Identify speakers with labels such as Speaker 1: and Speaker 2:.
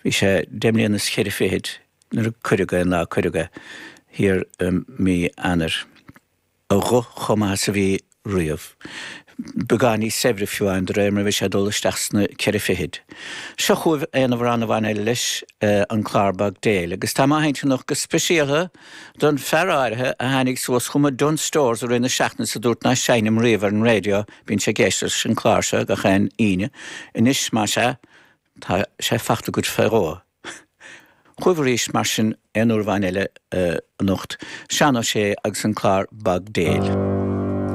Speaker 1: Bhí sé deich mbliana is cheithre fichid nuair a cuireadh é, an lá a cuireadh é, thiar i mí Eanáir. A ghuth chomh maith is a bhí riamh. Beagán níos saibhre fiú amháin de réir mar a bhí sé ag dul isteach sna ceithre fichid. Seo chugaibh aon amhrán amháin eile leis, an clár Bog Dale, agus tá mé á sheinnt anocht go speisialtha don fear áirithe a tháinig suas chugam i Dunnes Stores i rith na seachtaine is a dúirt ná seinnim riamh ar an raidió, bíonn sé ag éisteacht leis an clár seo gach aon Aoine. Anois, más ea, tá sé fachta agat fé dhó. Chugaibh arís mar sin aon uair amháin eile anocht, Seán Ó Sé agus an clár Bog Dale.